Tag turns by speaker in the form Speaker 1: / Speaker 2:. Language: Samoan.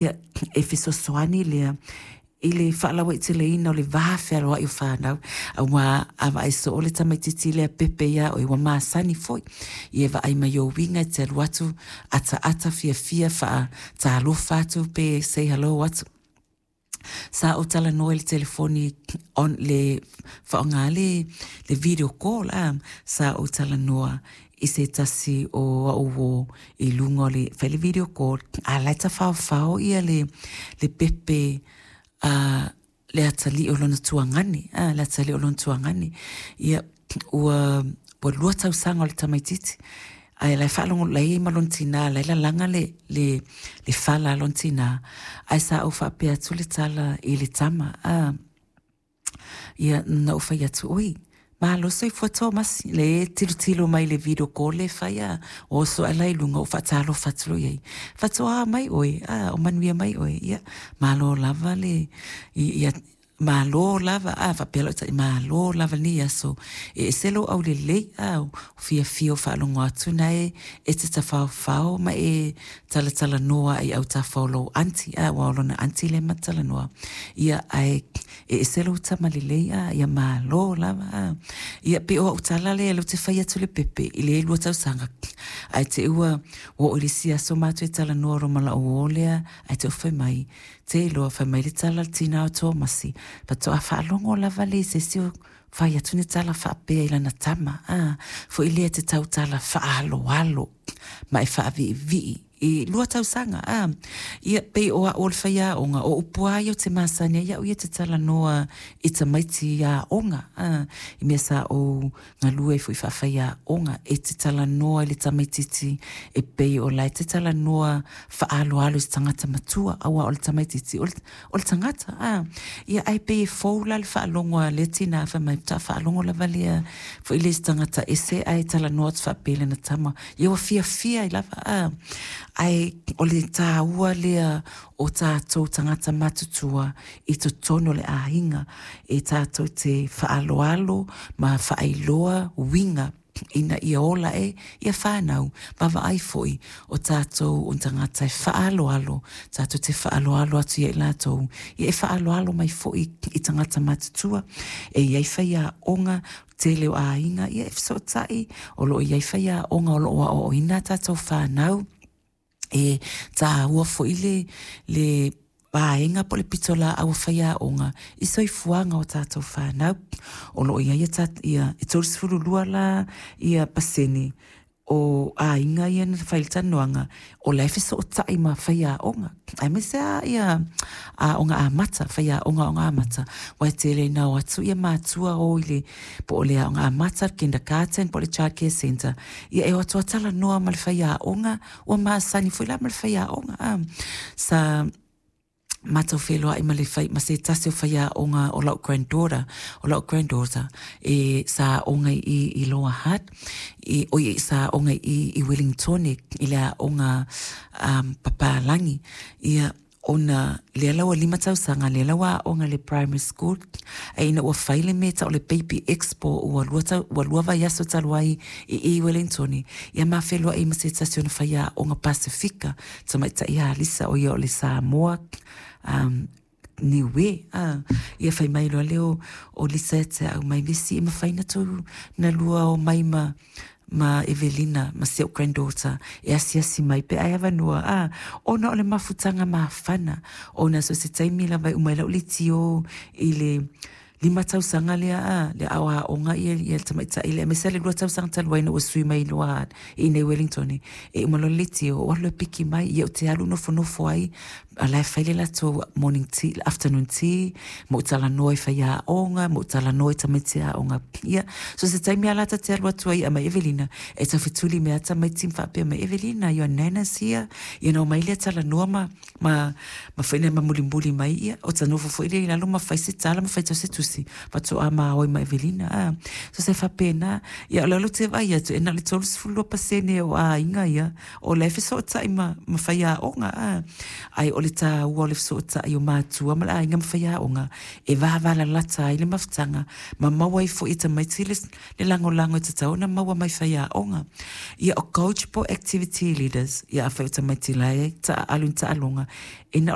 Speaker 1: Ia, e fesoasoani lea i le faalauaiteleina o le va fealoai o fanau, aua a vaai soo le tamaitiiti lea pepe ia oe, ua masani foi. Ia e vaai mai ou uiga e te alu atu, ataata fiafia, faatalofa atu pe say hello atu. Sa ou talanoa i le telefoni on le faaaoga le video call a, sa ou talanoa i se tasi o au uō i luga o le fai le video call, a o la e tafaofao le pepe a le atalii o lona tuagane, a, le atalii o lona tuagane. Ia, ua 2 tausaga o le tamaitiiti, ae la e faalogo, la e i ai ma lona tina, la e lalaga le fala a lona tina, ae sa ou faapea atu le tala i le tama, a, ia, na ou fai atu, oi, malo soifua Tomasi, le tilotilo mai i le video call le fai a, oso ae la i luga, ou faatalofa atu loa i ai, faatoa mai oe, a, o manuia mai oe, ia, malo lava le, ia, malo lava, a, faapea lau tai, malo lava lenei aso, e ese lou aulelei, a, o fiafia o faalogo atu na e te tafaofao ma e talatalanoa i autafa o lou aunty, a, aua o lona aunty lea ma talanoa, ia, ae e ese lou tamalelei, a, ia malo lava, a. Ia, pei o au tala lea lea ou te fai atu le pepe i le 2 tausaga, ae te i ua oo i le isi aso matou e talanoa loa ma lau uō lea, ae te i ua fai mai, te iloa, fai mai le tala a le tina o Tomasi, faatoa faalogo lava lea i se isi o fai atu ni tala faapea i lana tama, a, foi lea e te tautala faaaloalo ma e faaviivii i 2 tausaga, a. Ia, pei o au o le faiaoga, o upu lava ia ou te masani ai au ia te talanoa i tamaiti aoga, a, i mea sa ou galue ai foi faafaiaoga, e te talanoa i le tamaitiiti e pei o la e te talanoa faaaloalo i se tagata matua, aua o le tamaitiiti o le tagata, a. Ia, ae pei e fou la le faalogo a lea tina, fai mai, faatoa faalogo lava lea foi lea i se tagata ese ae talanoa atu faapea i lana tama, ia ua fiafia ai lava, a. Ae o le taua lea o tatou tagata matutua i totonu o le aiga, e tatou te faaaloalo ma faailoa uiga ina ia ola e ia fanau, vaavaai foi o tatou o tagata e faaaloalo, tatou te faaaloalo atu ia i latou, ia e faaaloalo mai foi i tagata matutua. E i ai faiaoga, tele o aiga, ia e fesootai, o lo o i ai faiaoga o lo o aoaoina a tatou fanau, e taua foi le vaega po o le pitolaau a faiaoga i soifuaga o tatou fanau. O lo o i ai ia, e 32 la ia pasene o aiga ia na fai le talanoaga, o la e fesootai ma faiaoga, aemaise lava ia aoga amata, faiaoga aoga amata, aua e tele ina o atu ia matua o i le, po o le aoga amata, kindergarten, po o le child care centre, ia e o atu lava talanoa ma le faiaoga, ua masani foi la ma le faiaoga, a. Sa matou feiloai ma le fai, ma se tasi o faiaoga o lau granddaughter, o lau granddaughter e sa aoga i Lower Hutt, i, oi, sa aoga i Wellingtone, i le aoga papalagi, ia, ona lea la ua 5 tausaga, lea la ua aoga i le primary school, ae ina ua fai le mea e tau o le Baby Expo, ua 2 vaiaso talu ai i Wellingtone, ia ma feiloai ma se tasi o ona faiaoga Pasifika, tamaitai ia Lisa, o ia o le Samoa, Niue, a, ia fai mai loa lea o Lisa ia te au, mai Misi e mafai na tou na lua o mai ma Evelina, ma si au granddaughter, e asiasi mai pe ai avanoa, a, ona o le mafutaga mafana, ona so o se taimi lava e uma ai lau leitio i le 5 tausaga lea, a, le aoaoga ia le tamaitai lea, aemaise lava le 2 tausaga talu ai ina ua sui mai loa i inei i Wellington, e uma loa le leitio, ou alu loa e piki mai, ia ou te alu nofonofo ai, a la e fai le latou morning tea, afternoon tea, ma ou talanoa i faiaoga, ma ou talanoa i tamaiti aoga. Ia, so se taimi lava la ta te alu atu ai a mai Evelina, e taufetuli mai lava tamaiti ma faapea mai, Evelina, your nana's here. Ia ona omai lea talanoa ma foi lea ma mulimuli mai, ia, o ta nofo foi lea i lalo ma fai se tala ma faitau se tusi, faatoa ma o ai ma Evelina. A, so se faapena, ia o le ou te vaai atu, e na o le 32% o aiga ia, o la e fesootai ma faiaoga, a. Ae o le taua o le fesootai o matua ma le aiga ma faiaoga, e vavalalata ai le mafutaga, ma maua ai foi e tamaiti le lagolago e tatau ona maua mai faiaoga. Ia o coach po o activity leaders, ia afai o tamaiti la e taaalo i ni taaloga, e na